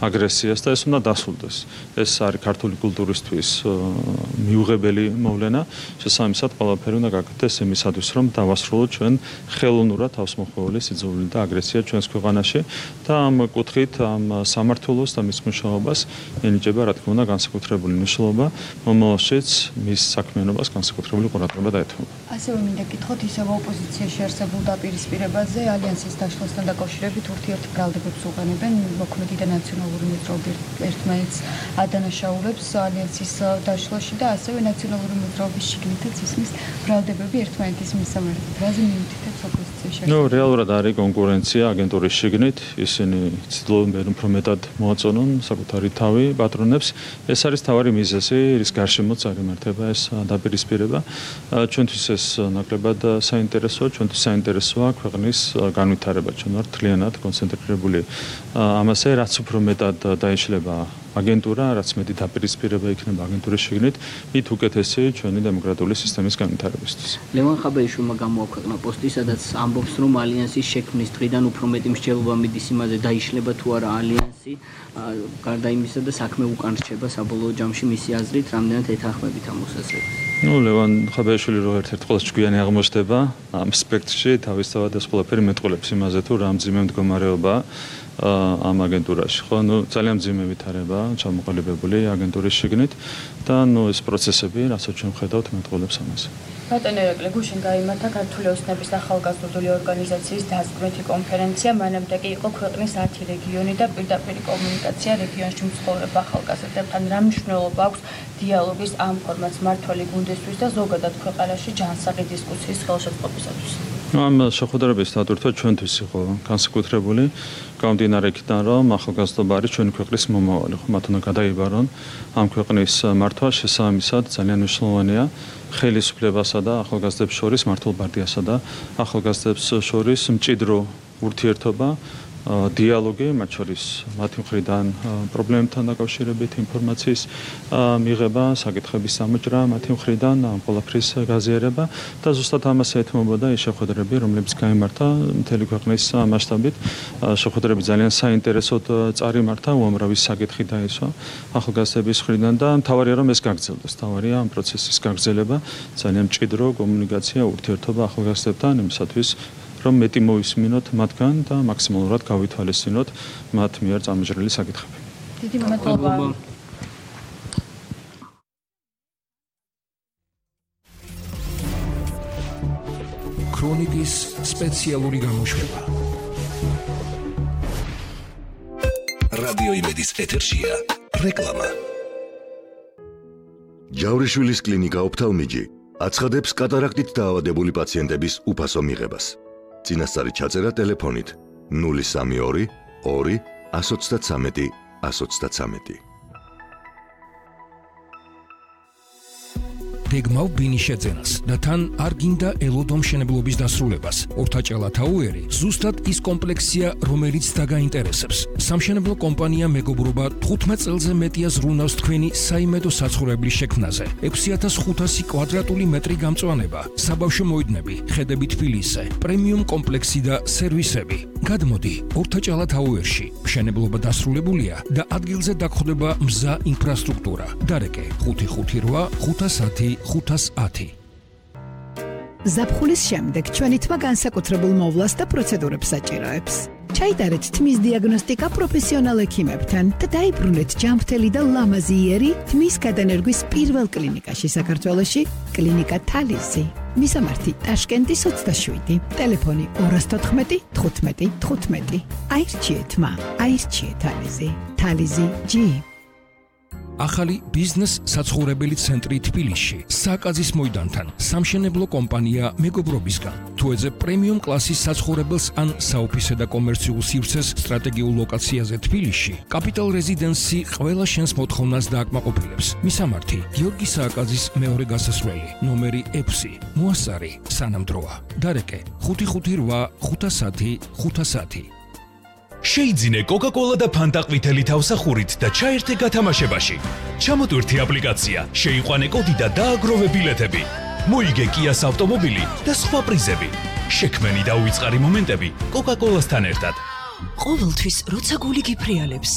აგრესიას და ეს უნდა დასრულდეს. ეს არის ქართული კულტურისთვის მიუღებელი მოვლენა. შესაბამისად, ყველაფერი უნდა გაკეთდეს იმისათვის, რომ დავასრულოთ ჩვენ ხელოვნურად თავსმოხვეული სიძულვილი და აგრესია ჩვენს ქვეყანაში და ამ კუთხით ამ სამართლოს და მის მუშაობას ენიჭება, რა თქმა უნდა, განსაკუთრებული მნიშვნელობა, მომავალშიც მის საქმიანობას განსაკუთრებული ყურადღება დაეთმობა. ასევე მინდა გითხოთ, ისევ ოპოზიციაში არსებულ დაპირისპირებაზე ალიანსის დაშლასთან დაკავშირებით ურთიერთ ბრალდებებს უყენებენ მოქმედი და ნაციონალური მოძრაობა ერთმანეთს ადანაშაულებს ალიანსის დაშლაში და ასევე ნაციონალური მოძრაობის შიგნითაც ისმის ბრალდებები ერთმანეთის მისამართად. რაზე მიუთითებს ოპოზიციაში? რეალურად არის კონკურენცია აგენტურის შიგნით, ისინი ცდილობენ უფრო მეტად მოაწონონ საკუთარი თავი პატრონებს. ეს არის თავარი მიზეზი, რის გარშემოც არ იმართება ეს დაპირისპირება. ჩვენთვის ეს ნაკლებად საინტერესოა, ჩვენთვის საინტერესოა ქვეყნის განვითარება. ჩვენ ვართ მთლიანად კონცენტრირებული ამაზე, რაც უფრო მეტად დაიშლება აგენტურა, რაც მეტი დაპირისპირება იქნება აგენტურის შიგნით, მით უკეთესი ჩვენი დემოკრატიული სისტემის განვითარებისთვის. ლევან ხაბეიშვილმა გამოაქვეყნა პოსტი, სადაც ამბობს, რომ ალიანსის შექმნის დღიდან უფრო მეტი მსჯელობა მიდის იმაზე, დაიშლება თუ არა ალიანსი, გარდა იმისა და საქმე უკან რჩება საბოლოო ჯამში მისი აზრით, რამდენად ეთანხმებით ამ მოსაზრებას. ლევან ხაბეიშვილი რო ერთ-ერთ ყველაზე ჭკვიანი აღმოჩნდება ამ სპექტრში, თავისთავად ეს ყველაფერი მეტყველებს იმაზე, თუ რა მძიმე მდგომარეობა ამ აგენტურაში, ხო? ძალიან მძიმე ვითარება ჩამოყალიბებული აგენტურის შიგნით და ეს პროცესები, რასაც ჩვენ ვხედავთ, მეტყველებს ამას. ბატონ ერეკლე, გუშინ გაიმართა ქართული ოცნების ახალგაზრდული ორგანიზაციის დასკვნითი კონფერენცია, მანამდე კი იყო ქვეყნის 10 რეგიონი და პირდაპირი კომუნიკაცია რეგიონში მცხოვრებ ახალგაზრდებთან. რა მნიშვნელობა აქვს დიალოგის ამ ფორმატს მმართველი გუნდისთვის და ზოგადად ქვეყანაში ჯანსაღი დისკუსიის ხელშეწყობისათვის? ამ შეხვედრების სტატურა ჩვენთვის იყო განსაკუთრებული, გამომდინარე იქიდან, რომ ახალგაზრდობა არის ჩვენი ქვეყნის მომავალი, ხო, მათ უნდა გადაიბარონ ამ ქვეყნის მართვა, შესაბამისად ძალიან მნიშვნელოვანია ხელისუფლებასა და ახალგაზრდებს შორის, მართლ პარტიასა და ახალგაზრდებს შორის მჭიდრო ურთიერთობა, დიალოგი, მათ შორის მათი მხრიდან პრობლემებთან დაკავშირებით ინფორმაციის მიღება, საკითხების ამოჭრა მათი მხრიდან, ამ ყველაფრის გაზიარება და ზუსტად ამას ეთმობოდა ის შეხვედრები, რომლებიც გაიმართა მთელი ქვეყნის მასშტაბით. შეხვედრები ძალიან საინტერესოდ წარიმართა, უამრავი საკითხი დაისვა ახალგაზრდების მხრიდან და მთავარია რომ ეს გაგრძელდეს. მთავარია ამ პროცესის გაგრძელება, ძალიან მჭიდრო კომუნიკაცია, ურთიერთობა ახალგაზრდებთან იმისათვის, რომ მეტი მოვისმინოთ მათგან და მაქსიმალურად გავითვალისწინოთ მათ მიერ წამოჭრილი საკითხები. დიდი მადლობა. ქრონიკის სპეციალური გამოშვება. რადიო იმედის ეთერშია რეკლამა. ჯავრიშვილის კლინიკა ოფთალმიჯი აცხადებს კატარაქტით დაავადებული პაციენტების უფასო მიღებას. წინასწარი ჩაწერა ტელეფონით 032 2 133 133. გეგმავ ბინის შეძენას და თან არ გინდა ელოდო მშენებლობის დასრულებას. ორთაჭალა თაუერი ზუსტად ის კომპლექსია, რომელიც დაგაინტერესებს. სამშენებლო კომპანია მეგობრობა 15 წელზე მეტია ზრუნავს თქვენი საიმედო საცხოვრებლის შექმნაზე. 6500 კვადრატული მეტრი გამწვანება, საბავშვო მოედნები, ხედები თბილისზე, პრემიუმ კომპლექსი და სერვისები. გადმოდი ორთაჭალა თაუერში. მშენებლობა დასრულებულია და ადგილზე დაგხვდება მზა ინფრასტრუქტურა. დარეკე 558 510 510. ზაფხულის შემდეგ ჩვენი თმა განსაკუთრებულ მოვლას და პროცედურებს საჭიროებს. ჩაიტარეთ თმის დიაგნოსტიკა პროფესიონალ ექიმებთან და დაიბრუნეთ ჯანმრთელი და ლამაზი იერი თმის გადანერგვის პირველ კლინიკაში საქართველოში, კლინიკა თალიზი. მისამართი ტაშკენტის 27, ტელეფონი 214 15 15. აირჩიეთ თმა, აირჩიეთ თალიზი. თალიზი G. ახალი ბიზნეს საცხოვრებელი ცენტრი თბილისში, სააკაძის მოედანთან, სამშენებლო კომპანია მეგობრობისგან. თუ ეძებ პრემიუმ კლასის საცხოვრებელს ან საოფისე და კომერციულ სივრცეს სტრატეგიულ ლოკაციაზე თბილისში, კაპიტალ რეზიდენსი ყველა შენს მოთხოვნას დააკმაყოფილებს. მისამართი გიორგი სააკაძის მეორე გასასვლელი, ნომერი 6, მოასწარი სანამდროა. დარეკე 558 510 510. შეიძინე კოკა-კოლა და ფანტა ყვითელი თავსახურით და ჩაერთე გათამაშებაში. ჩამოტვირთი აპლიკაცია, შეიყვანე კოდი და დააგროვე ბილეთები. მოიგე კიას ავტომობილი და სხვა პრიზები. შექმენი და უიწყარი მომენტები კოკა-კოლასთან ერთად. ყოველთვის როცა გული გიფრიალებს.